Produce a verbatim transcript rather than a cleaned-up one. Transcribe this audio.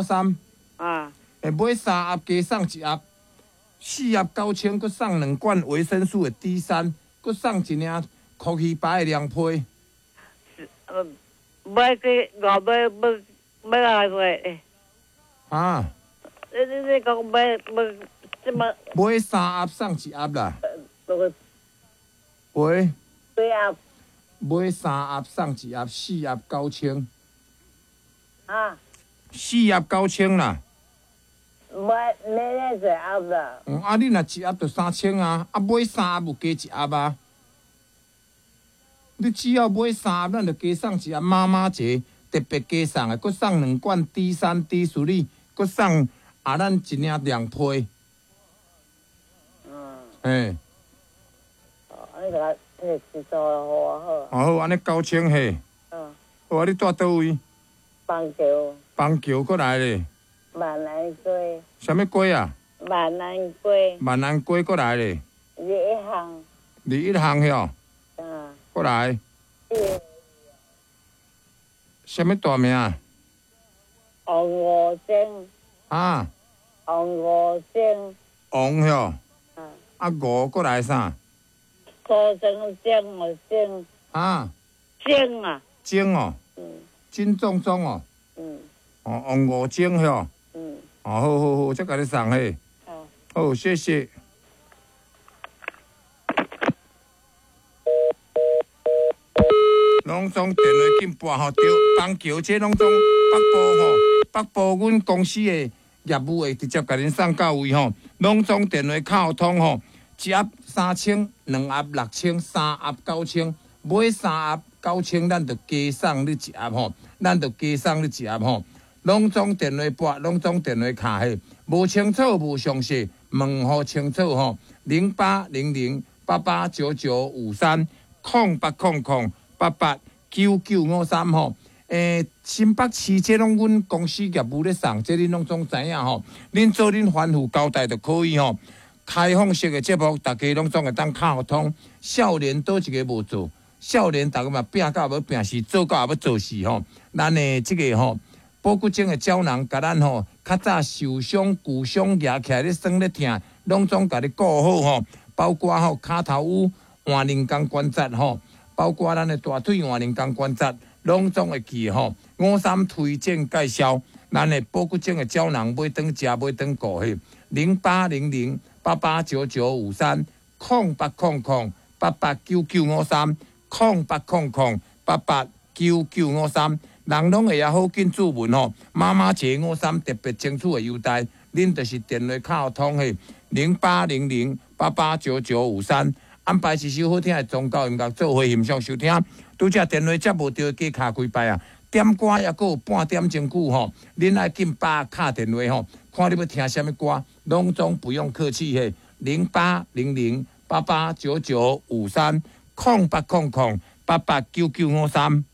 三。啊。欸，買三盒加送一盒，四盒九千，閣送兩罐維生素的 D 三，閣送一領箍魚排的涼皮。呃，買幾五買買買偌濟？啊？你你你講買買這麼？買三盒送一盒啦。喂。幾盒？買三盒送一盒，四盒九千。啊？四盒九千啦。買買咧一盒啦。嗯，啊，你若一盒就三千啊，啊買三盒有加一盒啊。你只要買三盒，咱就加送一盒媽媽節特別加送的，閣送兩罐 D 三 D 四，閣送啊咱一領涼皮。嗯。嘿。哦，你共摕一組予我好。哦好，按呢九千嘿。嗯。好啊，你住佗位？板橋。板橋閣來咧。萬安街。啥物街啊？萬安街。萬安街閣來咧。二一巷。二一巷遐。嗯。閣來。啥物大名？王五精。啊？王五精。王遐。嗯。啊五閣來啥？蘇生精哦精。啊？精啊。精哦。嗯。金壮壮哦。嗯。哦，王五精遐。嗯。哦，好好好，才共你送嘿。好。好，謝謝。攏總電話緊撥吼，對，板橋這攏總北部吼，北部阮公司的業務會直接共恁送到位吼，攏總電話敲通吼，一盒三千，兩盒六千，三盒九千，買三盒九千，咱就加送你一盒吼，咱就加送你一盒吼，攏總電話撥，攏總電話敲嘿，無清楚無詳細，問予清楚吼，零八零零八八九九五三，空八空空八八九九五三吼，欸，新北市這攏阮公司業務咧送，這恁攏總知影吼。恁做恁吩咐交代就可以吼。開放式的節目，大家攏總會當敲通。少年佗一个無做，少年逐家嘛拚到欲拚死，做到欲做死吼。咱的這个吼，保骨精的膠囊，共咱吼較早受傷、舊傷舉起來咧酸咧疼，攏總共你顧好吼。包括吼跤頭趺、換人工關節吼。包括咱的大腿換人工關節，攏總會記吼。五三推薦介紹，咱的保骨精的膠囊買轉食，買轉顧嘿，零八零零八八九九五三，空八空空八八九九五三，空八空空八八九九五三，人攏會曉好緊注文吼。媽媽節五三特別爭取的優待，恁就是電話敲通嘿，零八零零八八九九五三。安排一首好聽的宗教音樂做伙欣賞收聽。拄才電話接無著，加敲幾擺啊！點歌抑閣有半點鐘久吼，恁愛緊把敲電話吼，看你欲聽啥物歌，攏總不用客氣嘿。零八零零八八九九五三，空八空空八八九九五三。